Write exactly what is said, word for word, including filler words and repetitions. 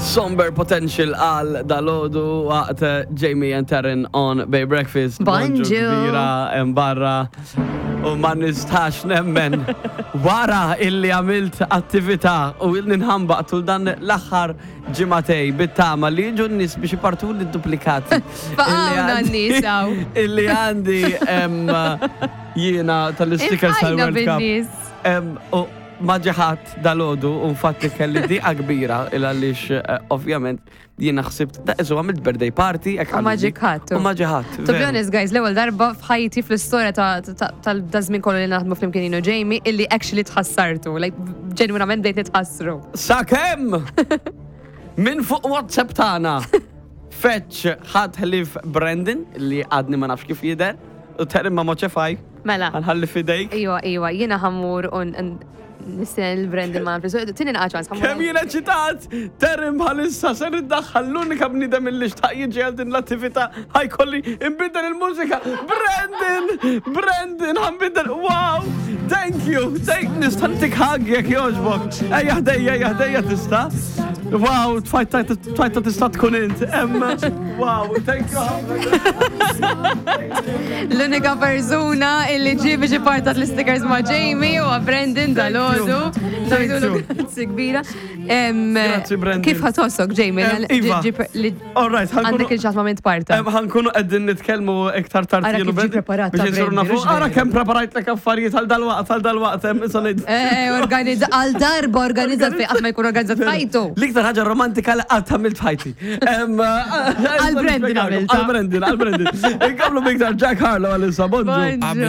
Somber Potential għal dalgħodu waqt Jamie and Taryn on Bay Breakfast. Bonġu. Kbira hemm barra u ma nistax nemmen wara illi għamilt attività u ilni nħambaq tul dan l-aħħar ġimagħtejn bit-tama li jiġu n-nies biex ipartu li duplikati. Faqgħuna n-nies hawn. Illi għandi em, jiena tal-stickers Infqajna tal-World Cup. bin-nies. Em, U ma ġie ħadd dalgħodu, u infatti kelli diqa kbira il għaliex eh, ovvjament jiena ħsibt, da isu għamilt birthday party, hekk U ma għalli. ġie ħadd. U ma ġie ħadd. To be honest, guys, l-ewwel darba f'ħajti fl-istorja ta' tal-żmien kollu li naħdmu flimkien jien u Jamie illi actually tħassartu, like ġenwinament bdejt nitħassru. Sakemm minn fuq WhatsApp tagħna feċ ħadd ħlief Brandon li għadni ma nafx kif jidher u Taryn ma moċefaj. Mela. Ħa nħalli f'idejk. Iwa, iwa, jiena ħa mmur un nistenna l-Brandon ma nafx. Tini naqra ċans. Kemm jiena eċitat! Taryn bħalissa ser iddaħħal l-unika bniedem illi xtaq jiġi għal din l-attività ħa jkolli nbiddel il-mużika. Brandon! Brandon, ħa nbiddel. Wow! Thank you! Thank nista' ntik hug jekk jogħġbok. Ejja ħdejja, ejja ħdejja tista'. Wow, tfajta tfajta tista' tkun int. Em, Wow, thank you. L-unika persuna illi ġie biex ipartat l-stickers ma' Jamie u Brandon dalgħodu. Thank you. Grazzi kbira. Em, Grazzi, Brandon. Kif ħa tħossok, Jamie? Em, Iva. Ġi- ġi- li- All right, ħa nkunu- Għandek il-ċat ma' minn parta. Em, Ħa nkunu qegħdin nitkellmu iktar tard Ara jien u kif ġie Brandon preparat biex ta' insiru Brandon, nafu. hux Ara veru? kemm preparajt lek affarijiet għal dalwaqt, għal dalwaqt, em, issa ngħid. Eh, organizza, għal darba organizzat fej, qatt ma jkun organizzat f'ħajtu. L-iktar ħaġa romantika li qatt għamilt f'ħajti. Em, Għal Brandon għamilta. Għal Brandon, għal Brandon. Inkomplu b'iktar Jack Harlow għal issa, bonġu. Bonġu.